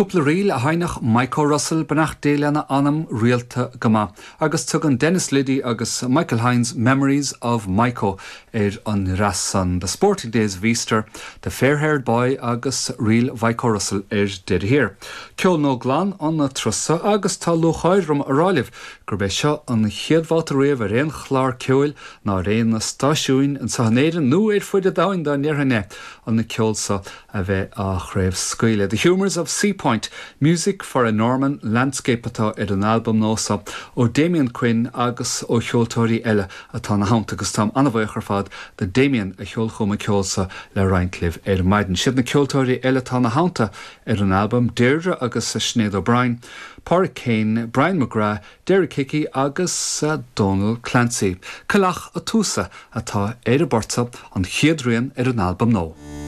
Cúpla ríl a sheinneadh Micho Russell, beannacht Dé lena anam, rialta go maith, agus tugann Denis Liddy agus Michael Hynes Memories of Micho ar an ndreas san, The Sporting Days of Easter, The Fair Haired Boy agus Ríl Mhaidhc Ó Russell ar deireadh thiar. Ceol nua glan an turas so agus tá lúcháir orm a rá libh gurb é seo an chéad bhabhta riamh ar aon chlár ceoil ná ar aon stáisiúin anseo in Éirinn nó ar fuid an domhain dá ndéarfainn é, an ceol so a bheith á chraobhscaoileadh. The Humours of Seapoint, Music for a Norman Landscape atá ar an albam nua so ó Damien Quinn agus ó cheoltóirí eile atá ina theannta agus táim an-bhuíoch ar fad do Damien a sheol chugam an ceol so le roinnt libh ar maidin. Siad na ceoltóirí eile atá ina theannta ar an albam, Deirdre agus Sinéad O'Brien, Pádraic Kane, Brian McGrath, Derek Hickey agus Donal Clancy. Coileach a' Túsa atá ar an bport so, an chéad rian ar an albam nua.